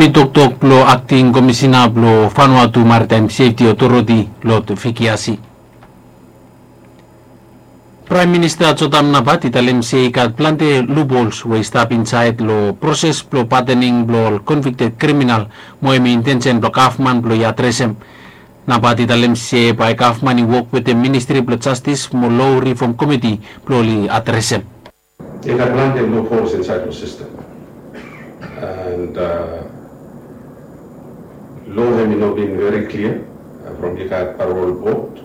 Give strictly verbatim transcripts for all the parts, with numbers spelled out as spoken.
Toktok blong akting komisina blong Vanuatu Maritime Safety Authority, Lord Vicky Asi. Praem Minista Jotam Napat i talem se i gat plante loopholes we i stap insaed long proses blong padening blong ol convicted kriminal, mo hemi intensen blong gavman blong i adresem. Napat i talem se bae gavman i wok wetem Ministri blong Jastis mo Loa Rifom Komiti blong oli adresem. I gat plante loopholes insaed long sistem. And loa hemi no bin veri klia from i gat parol bod,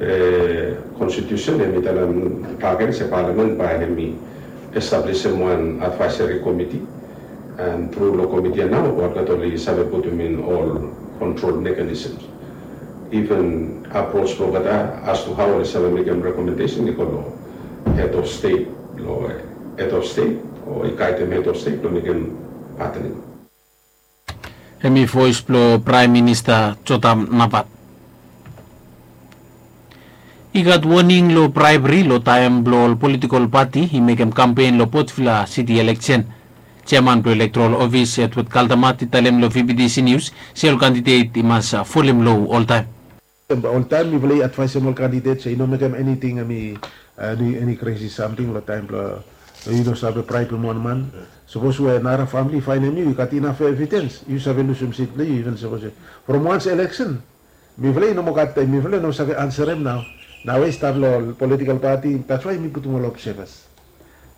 be konstitusen hemi talem bakegen se palamen bae hemi establisim wan advaeseri komiti, and tru long komiti ya nao olgeta oli save putum in ol kontrol mekanisms. Even apros blong olgeta as to hao oli save mekem rekomendesen i go long hed of stet, long hed of stet o i gaedem hed of stet blong mekem padening. Hemi voes blong Praem Minista Jotam Napat. I gat woning long braebri long taem blong ol politikol pati i mekem kampen long Port Vila Siti eleksen. Jeaman blong Elektorol Ofis Edward Kaldamat i talem long VBTC Nius se ol kandidet i mas folem loa oltaem. Oltaem mifala i advaesem ol kandidet se i no mekem eniting hemi eni kresi samting long taem blong yu no save braebem wan man. Sapos we nara famili i faenem yu i gat inaf evidens yu save lusum sit blong yu iven sapos we from wans eleksen. Mifala i no moa gat taem, mifala i no save ansarem nao. Nao we i stap long ol politikol pati, dats wae mi putum ol obsevas.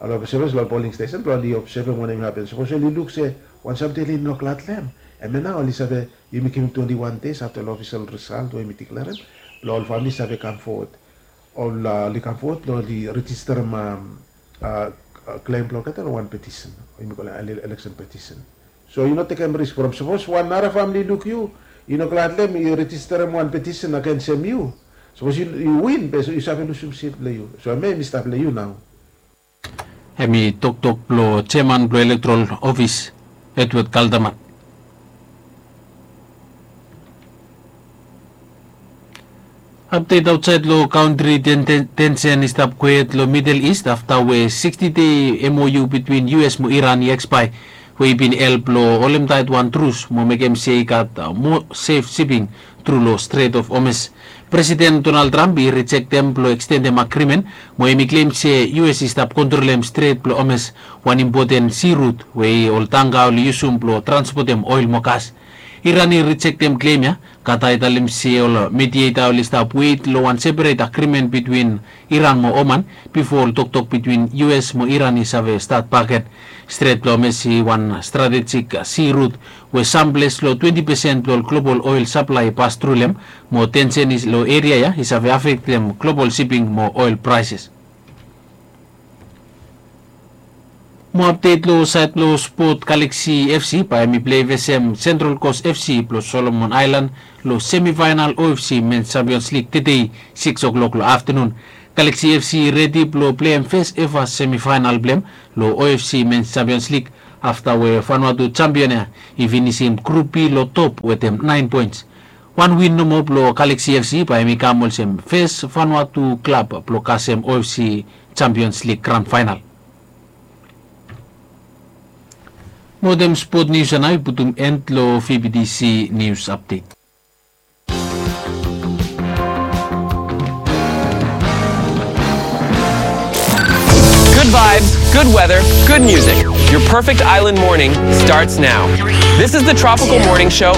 Ol obsevas long ol poling stesen blong oli obsevem wanem i hapen. Sapos oli luk se wan samting oli no glad long hem, hemia nao oli save, yumi givim twenti wan deis afta long ofisel risalt we yumi diklerem blong ol famili save kam fowod. Ol oli kam fowod blong oli rejisterem klem blong olgeta long wan petisen we yumi kolem eleksen petisen. So yu no tekem risk from sapos wan nara famili i luk yu, yu no glad long hem, i rejisterem wan petisen agensem yu. Sapos yu win be yu save lusum sit blong yu. So hemia hemi stap long yu nao. Hemi toktok blong jeaman blong Elektorol Ofis Edward Kaldamat. Apdet aotsaed long kantri, tensen i stap kwet long Midel Ist afta we siksti dei MOU bitwin US mo Iran i ekspaea, we i bin help long holem taet wan trus mo mekem se i gat moa sef siping tru long Stret of Hormuz. Presiden Donald Trump i rijektem blong ekstendem agrimen, mo hemi klem se US i stap kontrolem Stret blong Hormuz, wan impoten si rut we ol tangka oli yusum blong transpotem oel mo gas. Iran i rijektem klem ya. Katar i talem se ol medieta oli stap wet long wan seperet agrimen bitwin Iran mo Oman bifo ol toktok bitwin US mo Iran i save stat bakegen. Stret blong Hormuz i wan stratejik si rut we samples long twenti pesen blong ol global oel saplae i pas tru long hem, mo tensen long eria ya i save afektem global siping mo oel praeses. Mo apdet long saed blong spot, Galaxy FC bae hemi plei vesem Central Coast FC blong Solomon Aelan long semifaenal OFC Mens Champions Lig tedei, sikis klok long aftenun. Galaxy FC i redi blong pleim fes eva semifaenal blong hem long OFC Mens Champions Lig afta we Vanuatu jampion ya i finisim Grup B long top wetem naen poens. Wan win nomo blong Galaxy FC bae hemi kam olsem fes Vanuatu klab blong kasem OFC Champions Lig gran faenal. Mo wetem spot nius ya nao i putum en long VBTC Nius Apdet. Good vibes, good weather, good music. Your perfect island morning starts now. This is the Tropical Morning Show